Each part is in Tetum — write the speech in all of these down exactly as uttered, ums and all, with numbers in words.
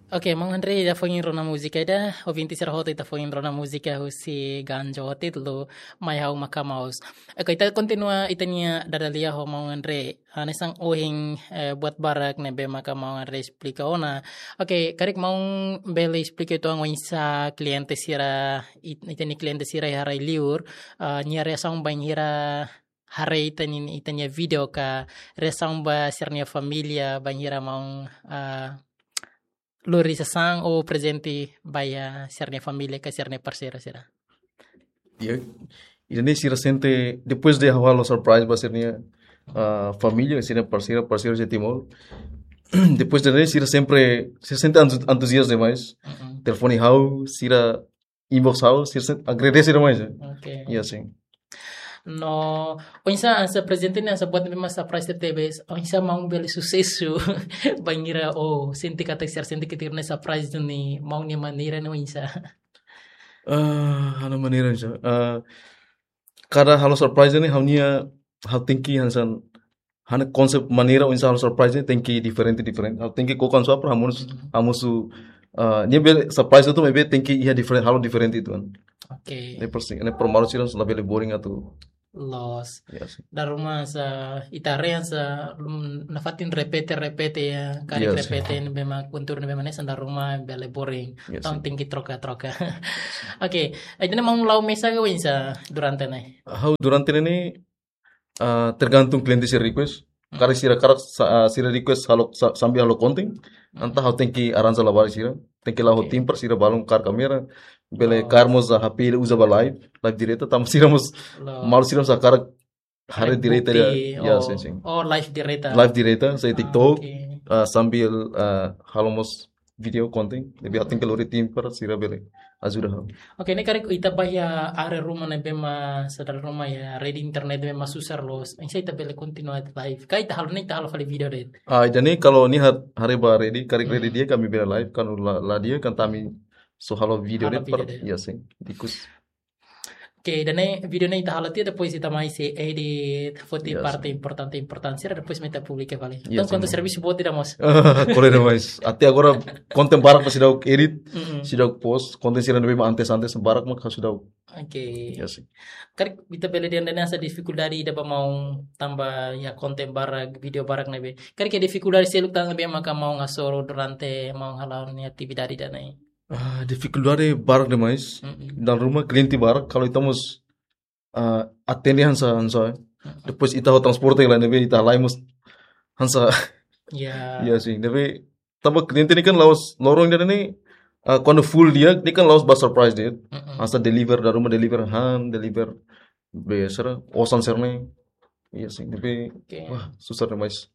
Oke, maun Andre, ita foin rona múzika ida, ouvinte sira hotu, ita foin rona múzika husi Ganjo, títulu Mai Ha'u Maka'as. Oke, ita kontinua ita-nia dada-lia ho maun Andre. Hanesan ohin, eh, buat barak ne'ebé maka maun Andre esplika ona. Oke, karik maun bele esplika uitoan oinsá kliente sira, it-, ita-nia kliente sira iha rai-liur, ah, nia reasaun bainhira haree ita-nia, ita-nia vídeo ka, reasaun ba sira-nia família bainhira maun, ah, lori sasán ou prezente ba iha sira-nia família ka sira-nia parseiru sira. Ya, ida-ne'e sira sente, depois de halo surprise ba sira-nia, ah, família, sira-nia parseiru, parseiru de Timor. Depois de ne'e, sira sempre, sira sente entu-, entuziasmo demais. Mm-mm. Telefone ha'u, sira inbox ha'u, sira sente agradese demais, eh. Oke. Ya, sin. No, oinsá hanesan prezente ne'e hanesan buat ne'ebé mak surprise tebes, oinsá maun bele susesu, bainhira, oh, sente katak sira sente katak ne'e surprise duni, maun nia maneira ne'e oinsá. Ah, ha'u-nia maneira oinsá. Ah, kada halo surprise ne'e, ha'u-nia, ha'u tenke hanesan, ha'u-nia konsep maneira oinsá halo surprise ne'e tenke diferente, diferente. Ha'u tenke koko hanesan para hamosu, Mhm. hamosu, ah, nia bele surprise atu maibé tenke iha diferente, halo diferente uitoan. Oke. Ne'e persi-, ne'e para maluk sira labele boring atu. Loos. Ya, sin. Dala ruma hanesan ita haree hanesan, mm, nafatin repete, repete ya, karik Yes. repete ne'ebé mak konteúdu ne'ebé mak hanesan dala ruma bele boring. Ya, Entaun sin. tenke troka, troka. Oke, ida-ne'e maun la'o mesak ka oinsá durante ne'e? Ha'u durante ne'e, ah, tergantung kliente sira request. Hmm. Karik sira karik sa-, ah, sira request halo sa-, sambil halo konten, Hmm. entaun ha'u tenke arranja labarik sira, tenke la'o ho Oke. tim para sira balun kaer kámera, bele Oh. kaer mós H P uza ba live, live direta, tanba sira mós, Loos. maluk sira mós hakarak haree Karik direta bukti, ya, oh, sin, sin. oh, live direta. Live direta, hanesan Ah, TikTok, oke. ah, sambil, ah, halo mós vídeo konten, ne'ebé ha'u tenke lori tim para sira bele ajuda ha'u. Oke, ne'e karik ita ba iha área ruma ne'ebé mak hanesan dala ruma iha rede internet ne'ebé mak susar loos, oinsá ita bele kontinua live. Ka ita halo ne'e, ita halo fali vídeo de'it. Ah, jadi kalau nia har-, haree ba rede, karik rede Hmm. di'ak ami bele live, kalau la, la di'ak entaun ami só halo vídeo Halo de'it para, vídeo de'it. ya, sin. Ikus. Oke, ida-ne'e vídeo ne'e ita halo tiha, depois ita mai sei edit, foti Yes. parte importante, importante sira, depois mai ita publika fali. Yes, Entaun, kuandu sin. servisu boot ida mós. Kole demais. Até agora, konten barak mak seidauk edit, Mm-mm. seidauk post, konten sira ne'ebé mak antes, antes barak mak seidauk. Oke. Ya, sin. Karik ita bele dehan ida-ne'e hanesan difikuldade ida ba maun tanba iha konten barak, vídeo barak ne'ebé. Karik iha difikuldade seluk tan ne'ebé maka maun hasoru durante maun hala'o nia atividade ida-ne'e? Ah, difikuldade barak demais. Mm-mm. Dala ruma kliente barak, kalau ita mós, ah, atende hanesan, hanesan. Mm-mm. Depois ita ho transporte la ne'ebé ita halai mós hanesan. Ya. Ya, sin. Ne'ebé tanba kliente ne'e kan la'ós loron ida-ne'e, ah, kuandu full di'ak, ne'e kan la'ós ba surprise de'it. Mm-mm. Hanesan deliver, dala ruma deliver han, deliver be sira, osan sira-ne'e. Iya, sin, tapi, Oke. wah, susar demais.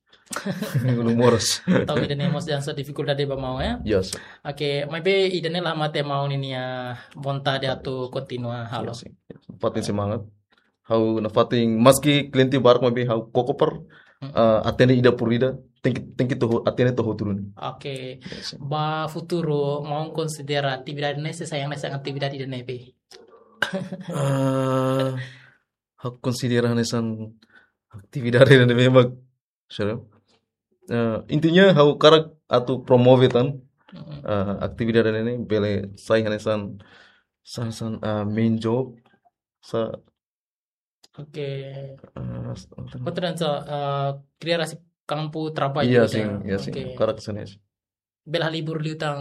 Ulun moras. Entaun ida-ne'e mós hanesan difikuldade ba maun, ya? Iya, sin. Oke, maibé ida-ne'e la mate maun ninia vontade atu kontinua halo. Iya, sin. Nafatin semangat. Ha'u nafatin, maski kliente barak maibé ha'u koko para, Mm. ah, atende ida por ida, tenke, tenke to'o, atende to'o hotu duni. Oke. Iya, sin. Ba futuru, maun konsidera atividade ne'e sai hanesan atividade ida-ne'ebé? Ah, ha'u konsidera hanesan atividade ne'ebé mak, sira. Eh, intinya ha'u hakarak atu promove tan, Mm-mm. eh, atividade ne'e bele sai hanesan, hanesan, eh, main job, sa-, Oke. eh, s-, Buat hanesan, eh, kria rasik kampu traballu Iya, gitu sin, ya? iya, sin. Oke. Hakarak hanesan ne'e. Bele halibur liután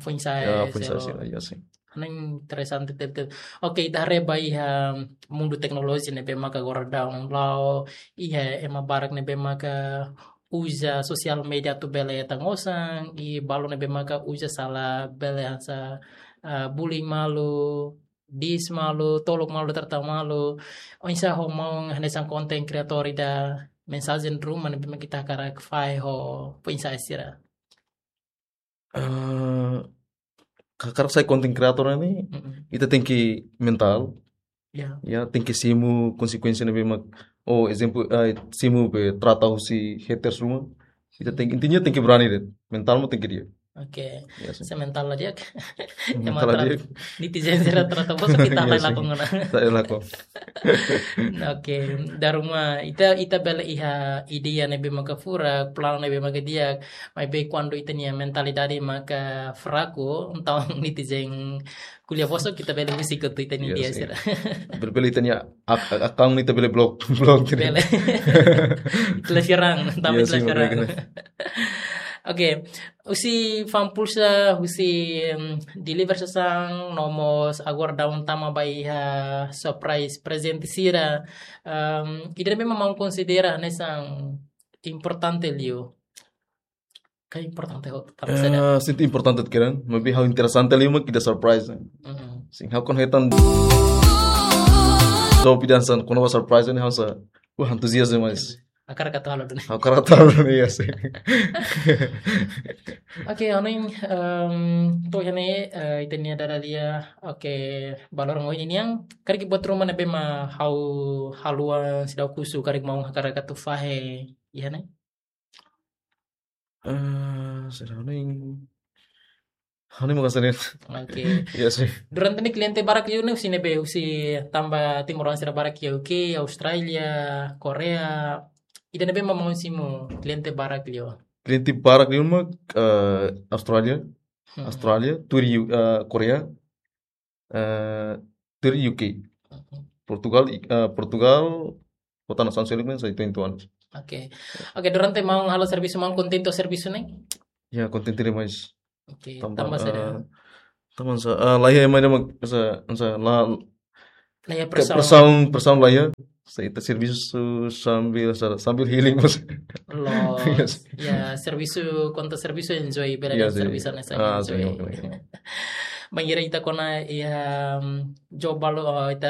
foin-sa'e Ya, foin-sa'e sira. sira, iya, sin. Ne'e interesante tebetebes. Oke, ita haree ba iha mundu teknolojia ne'ebé maka agora daudaun la'o, iha ema barak ne'ebé maka uza sosial media atu bele hetan osan, i balu ne'ebé maka uza sala bele hanesan, ah, bullying malu, diss malu, tolok malu, trata malu. Oinsá ho maun hanesan konten kreatór ida, mensajen ruma ne'ebé maka ita hakarak fahe ho foin-sa'e sira? Eh, hakarak sai konten kreatór ne'e, Mm-mm. ita tenke mentál. Ya. Ya, tenke simu konsekuénsia ne'ebé mak, oh, ezemplu, eh, simu be trata husi haters ruma. Ita tenke, intinya tenke berani de'it. Mentál mós tenke di'ak. Oke. Ya, sih. Se mental la di'ak. Mental la di'ak. Netizen sira trata bosok ita la lakon ona. Ita la lakon. Oke, dala ruma ita, ita bele iha ideia ne'ebé maka furak, planu ne'ebé maka di'ak, maibé kuandu ita-nia mentalidade maka fraku, entaun netizen ko'alia bosok, ita bele husik hotu ita-nia ideia sira. Bele, bele ita-nia ak-, ak-, account ita bele blok, blok. Bele. Ita la serang, tanba ita la serang. Oke, husi Fa'an Pulsa, husi, em, deliver sasán, no mós agora daudaun tama ba iha surprise prezente sira. Em, ida-ne'ebé mak maun konsidera hanesan importante liu? Ka importante ho, tanba saida? Eh, sente importante keren, maibé ha'u interesante liu mak ida surprise. Mm-mm. Sin, ha'u kan hetan. So, pidan san, kona-ba surprise ne'e ha'u sa, wah, antuzias demais. Hakarak atu halo duni. Hakarak atu halo duni, ya, sih. Oke, ha'u hanoin, em, to'o iha ne'e, eh, ita-nia dada lia, oke, ba loron ohin nian, karik buat ruma ne'ebé mak ha'u haluha seidauk husu, karik maun hakarak atu fahe iha ne'e? Eh, seidauk hanoin. Hanoin maka seidauk. Oke. Ya, sih. Durante ne'e kliente barak liu ne'e husi ne'ebé, husi tanba timoroan sira barak iha U K, Austrália, Korea. Ida-ne'ebé mak maun simu kliente barak liu? Kliente barak liu mak, eh, Austrália. Hmm. Austrália, tuir U-, eh, Korea, eh, tuir U K. Hmm. Portugal, i-, eh, Portugal, kota nasaun seluk ne'e, sai tuin tuan. Oke. Oke, durante maun halo servisu, maun kontente ho servisu ne'e? Ya, kontente demais. Oke, tanba, tanba saida? Eh, tanba sa, eh, laiha ema ida mak, sa, sa, la, laiha ke presaun. Presaun, presaun laiha. Sa ita servisu sambil, sa, sambil healing, mas. Loos. Yes. Ya, servisu, kuandu servisu enjoy, bele. Iya, servisu sih. Hanesan enjoy. Bainhira ita kona iha, em, job balu, oh, ita